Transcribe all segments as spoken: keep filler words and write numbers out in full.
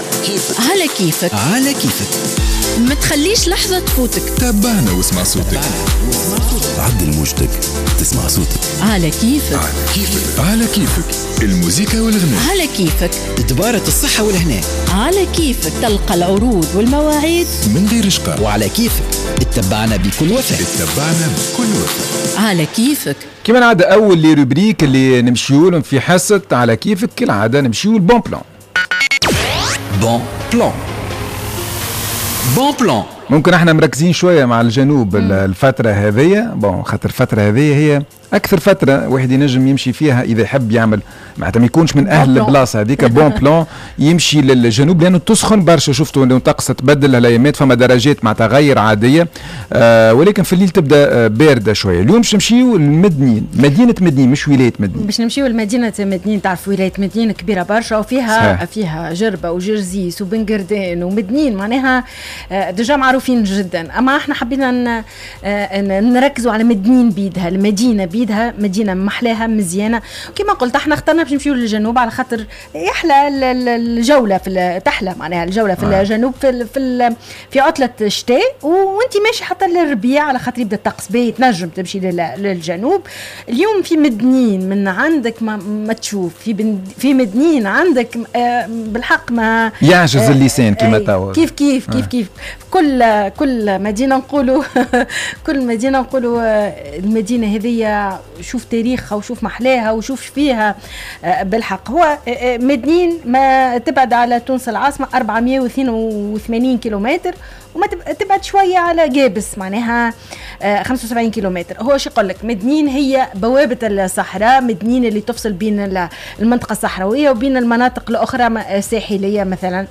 على كيفك. على كيفك. على كيفك. ما تخليش لحظة تفوتك. تابعنا واسمع صوتك. عدل موجتك تسمع صوتك. على كيفك. على كيفك. على كيفك الموزيكا والغناء. على كيفك دبارة الصحة والهناء. على كيفك تلقى العروض والمواعيد من غير شقاء. وعلى كيفك اتبعنا بكل وفاء. اتبعنا بكل وفاء. على كيفك. كما العادة أول les rubriques اللي نمشيو لهم في حصة على كيفك كالعادة نمشيو ال bon plan. bon plan. bon plan. ممكن احنا مركزين شوية مع الجنوب الفترة هذية، bon خاطر الفترة هذية هي أكثر فترة واحد ينجم يمشي فيها إذا يحب يعمل، معناتها ما يكونش من أهل البلاصة هذيك bon plan يمشي للجنوب لأنه تسخن برشا. شفتوا أنه الطقس تبدل هالأيامات، فما درجات معناتها غير عادية، آه ولكن في الليل تبدا باردة شوية. اليوم باش نمشيو لمدنين، مدينة مدنين مش ولاية مدنين. باش نمشيو لمدينة مدنين. تعرف ولاية مدنين كبيرة برشا وفيها صحيح. فيها جربة وجرزيس وبنقردان ومدنين، معناها déjà معروفين جدا. أما احنا حبينا نركزوا على مدنين بيدها، المدينة بيدها مدينة محلاها مزيانة. كما قلت احنا اخترنا باش نمشيو للجنوب على خاطر يحلى الجولة في تحلى معناها الجولة في آه. الجنوب في في, في عطلة الشتاء وانت ماشي حتى للربيع على خاطر يبدا الطقس باهي تنجم تمشي للجنوب. اليوم في مدنين من عندك ما, ما تشوف في في مدنين عندك بالحق ما يعجز اللسان كما توا. كيف كيف كيف كيف كل كل مدينة نقولوا كل مدينة نقولوا المدينة هذه شوف تاريخها وشوف محلاها وشوف فيها بالحق. هو مدنين ما تبعد على تونس العاصمة أربعمية واثنين وثمانين كيلومتر وما تبعد شوية على جابس معناها خمسة وسبعين كيلومتر. هو شو يقول لك مدنين هي بوابة الصحراء، مدنين اللي تفصل بين المنطقة الصحراوية وبين المناطق الأخرى الساحلية مثلا.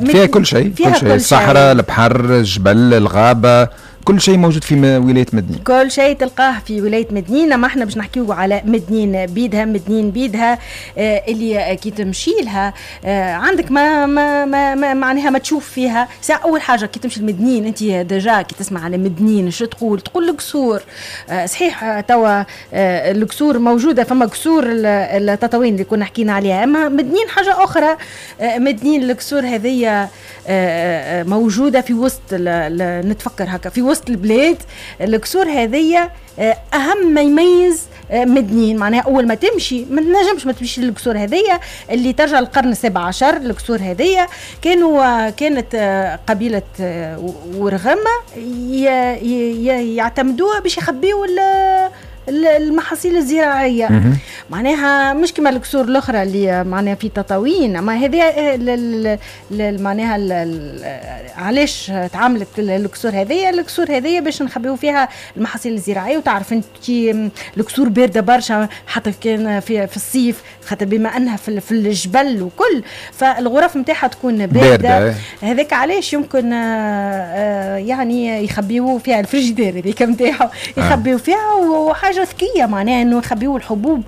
فيها كل شيء، كل شيء، الصحراء، البحر، الجبل، الغابة، كل شيء موجود في ولاية مدنين. كل شيء تلقاه في ولاية مدنين. ما احنا باش نحكيو على مدنين بيدها، مدنين بيدها آه اللي كي تمشي لها آه عندك ما ما ما, ما معناها ما تشوف فيها. ساعة أول حاجة كي تمشي لمدنين أنت déjà كي تسمع على مدنين شو تقول؟ تقول القصور. آه صحيح توا آه القصور موجودة، فما قصور التطاوين اللي كنا حكينا عليها، أما مدنين حاجة أخرى. آه مدنين القصور هذه آه موجودة في وسط نتفكر هكا في وسط البلاد. القصور هذية أهم ما يميز مدنين، معناها أول ما تمشي ما تنجمش ما تمشي للقصور هذية اللي ترجع للقرن السابع عشر. القصور هذية كانوا كانت قبيلة ورغمة يعتمدوها باش يخبيوا المحاصيل الزراعية. معناها مش كما القصور الاخرى اللي معناها في تطاوين، اما هذه معناها علاش تعاملت القصور هذه؟ القصور هذه باش نخبيو فيها المحاصيل الزراعية. وتعرف انت القصور باردة برشا حتى كان في, في الصيف، خاطر بما انها في, في الجبل وكل، فالغرف نتاعها تكون باردة. هذاك علاش يمكن يعني يخبيو فيها الفريجيدير هذيك نتاعها، يخبيو فيها وحاجه ذكية معناها انه يخبيو الحبوب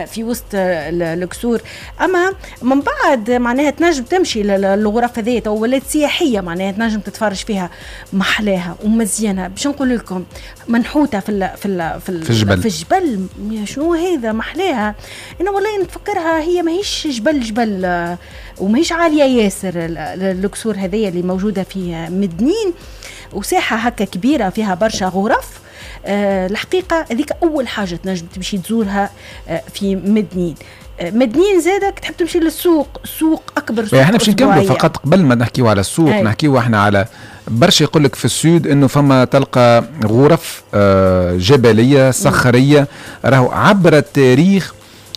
في وسط القصور. اما من بعد معناها تنجم تمشي للغرف هذه تو ولات سياحية، معناها تنجم تتفرج فيها محلاها ومزيانه. باش نقول لكم منحوته في ال في ال في, ال في الجبل. في الجبل شنو هذا محلاها. انا والله نتفكرها هي ماهيش جبل جبل وماهيش عالية ياسر القصور هذه اللي موجودة في مدنين، وساحه هكا كبيرة فيها برشا غرف. أه الحقيقة هذيك أول حاجة تنجم تمشي تزورها أه في مدنين. أه مدنين زادك تحب تمشي للسوق، سوق أكبر سوق. احنا باش نكملوا فقط قبل ما نحكيو على السوق. أي. نحكيو احنا على برشا يقول لك في ال sud انه فما تلقى غرف أه جبلية صخرية، راهو عبر التاريخ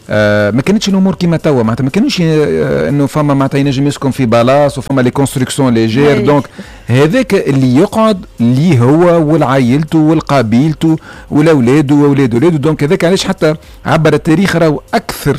آه ما كانتش الامور كيما توا، معناتها ما كانوش آه انه فما معناتها ينجم يسكن في palace وفما les constructions légères. donc هذاك اللي يقعد اللي هو والعائلته والقبيلته والاولاد واولاد ولاده. donc هذاك علاش حتى عبر التاريخ راهو اكثر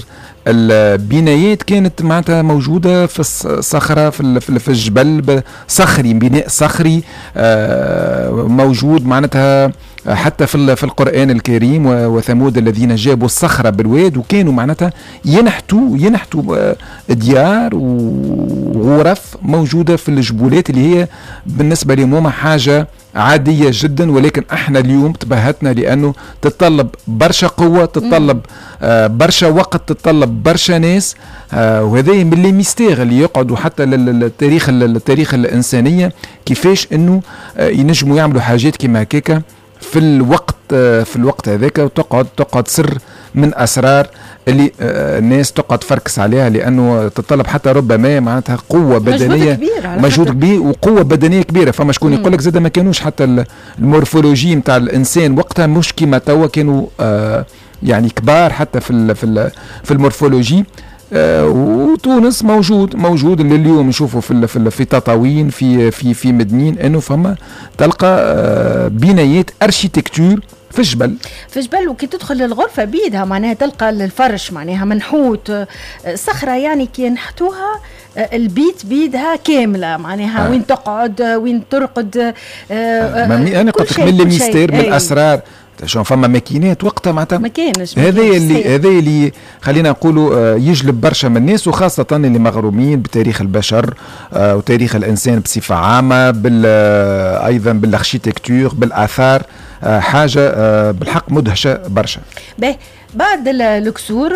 البنايات كانت معناتها موجودة في الصخرة في في الجبل، صخري، بناء صخري آه موجود معناتها حتى في في القرآن الكريم، وثمود الذين جابوا الصخرة بالواد، وكانوا معناتها ينحتوا ينحتوا ديار وغرف موجودة في الجبولات اللي هي بالنسبة لهم حاجة عادية جدا، ولكن احنا اليوم تبهتنا لانه تتطلب برشا قوه، تتطلب آه برشا وقت، تتطلب برشا ناس، آه وهذا من les mystères اللي يقعدوا حتى للتاريخ، التاريخ الانسانيه، كيفاش انه آه ينجموا يعملوا حاجات كيما هكاكا في الوقت آه في الوقت هذاك، وتقعد تقعد سر من اسرار اللي آه، الناس تقعد تفركس عليها، لانه تتطلب حتى ربما معناتها قوة بدنيه، مجهود كبير، مجهود كبير وقوه بدنية كبيره. فما شكون يقول لك زاد ما كانوش حتى ال morphologie نتاع الانسان وقتها مش كيما توا، كانوا آه يعني كبار حتى في ال في ال في ال morphologie. آه وتونس موجود موجود لليوم، نشوفوا في في في تطاوين، في في في مدنين، انه فما تلقى آه بنايات architecture في الجبل. في الجبل، وكي تدخل للغرفة بيدها معناها تلقى الفرش معناها منحوت، صخرة يعني كي ينحتوها، البيت بيدها كاملة معناها آه. وين تقعد، وين ترقد. آه انا قلت لك من les mystères، من الاسرار، شو فما ماكينات وقتها معناتها؟ ما كانش. هذا اللي هذا اللي خلينا نقولوا آه، يجلب برشا من الناس، وخاصة اللي مغرومين بتاريخ البشر آه، وتاريخ الإنسان بصفة عامة، بال آه، أيضا بال architecture، بالآثار، حاجة بالحق مدهشة برشا. باهي، بعد الكسور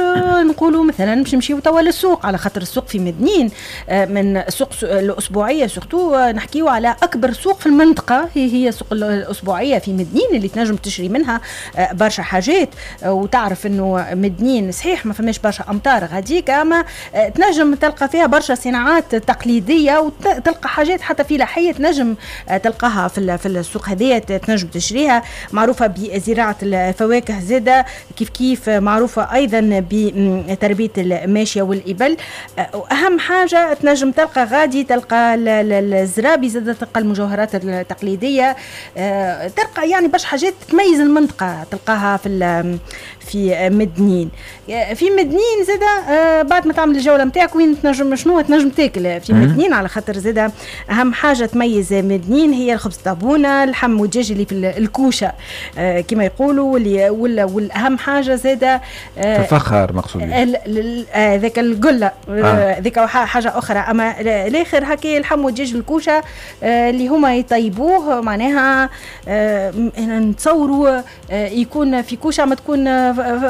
نقولوا مثلا باش نمشيو توا للسوق، على خاطر السوق في مدنين من السوق الاسبوعية surtout، نحكيو على اكبر سوق في المنطقه، هي هي السوق الاسبوعية في مدنين اللي تنجم تشري منها برشا حاجات. وتعرف انه مدنين صحيح ما فماش برشا امطار غاديك، اما تنجم تلقى فيها برشا صناعات تقليدية وتلقى حاجات حتى فلاحية تنجم تلقاها في في السوق هذيا، تنجم تشريها. معروفة بزراعه الفواكه زاده كيف كيف، معروفة أيضا بتربية الماشية والإبل. أهم حاجة تنجم تلقى غادي، تلقى الزرابي زاد، تلقى المجوهرات التقليدية، آه، تلقى يعني برشا حاجات تميز المنطقة تلقاها في في مدنين. في مدنين زاد آه، بعد ما تعمل الجولة نتاعك، وين تنجم، شنو تنجم تاكل في مدنين؟ على خاطر زاد أهم حاجة تميز مدنين هي الخبز طابونة، اللحم والدجاج اللي في الكوشة آه، كما يقولوا، واللي والأهم حاجة زاد الفخار مقصود. ذاك القلة ذيك آه. حاجة اخرى، اما الاخر هكا اللحم والدجاج الكوشة آه، اللي هما يطيبوه معناها آه، نتصوروا يكون في كوشة ما تكون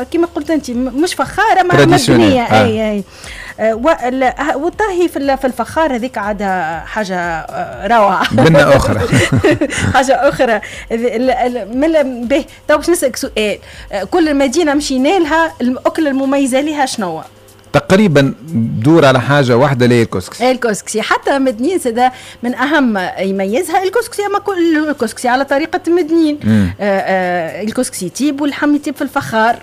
كما قلت انت مش فخاره ما مبنيه آه. اي اي والطهي في الفخار هذيك عاد حاجة روعه. بنة اخرى. حاجة اخرى. من به تو باش نسالك سؤال، كل مدينة مشينا لها الاكلة المميزة لها شنو؟ تقريبا دور على حاجة واحده، اللي هي الكسكسي. الكسكسي، حتى مدنين زاد من اهم يميزها الكسكسي، اما كل الكسكسي على طريقه مدنين. آه آه الكسكسي يطيب واللحم يطيب في الفخار.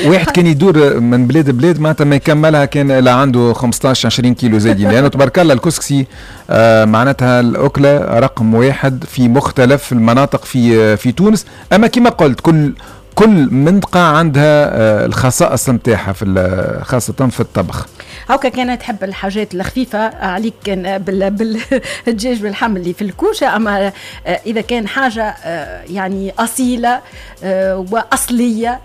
واحد كان يدور من بلاد بلاد معناتها ما يكملها كان لا عنده خمسطاش عشرين كيلو زايدين، لانه تبارك الله الكسكسي آه معناتها الاكلة رقم واحد في مختلف المناطق في في تونس. اما كما قلت كل كل منطقة عندها آه، الخصائص نتاعها في خاصة في الطبخ. هاكا كانت تحب الحاجات الخفيفة عليك كان بالدجاج باللحم اللي في الكوشة، أما آه، إذا كان حاجة آه، يعني أصيلة وأصلية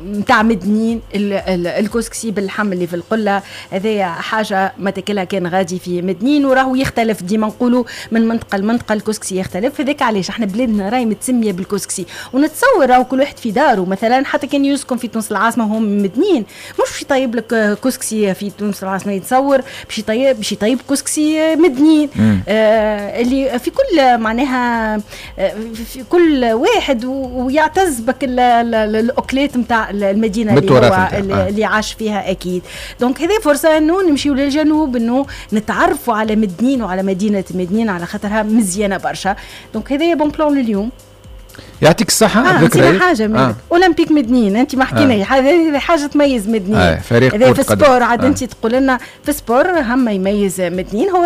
نتاع مدنين، الكسكسي باللحم اللي في القلة، هذايا حاجة ما تاكلها كان غادي في مدنين. وراهو يختلف، ديما نقولوا من منطقة لمنطقة الكسكسي يختلف. هذاك علاش احنا بلادنا راهي متسمية بالكسكسي. ونتصور راهو كل واحد في داره مثلا، حتى كان يسكن في تونس العاصمة وهو من مدنين، مش باش يطيب لك كسكسي في تونس العاصمه، يتصور باش يطيب باش يطيب كسكسي مدنين. آه اللي في كل معناها آه، في كل واحد ويعتز بك الاكلات نتاع المدينة اللي هو اللي, آه. اللي عاش فيها اكيد. donc هذه فرصة انه نمشيو للجنوب، انه نتعرفوا على مدنين وعلى مدينة مدنين، على خاطرها مزيانه برشا. donc هذا bon plan لليوم. يعطيك الصحة. آه ذكرى حاجة آه. أولمبيك مدنين، أنت ما حكينا آه. هذه حاجة تميز مدنين. آه. فريق في sport عاد آه. أنت تقول لنا في sport هم يميز مدنين هو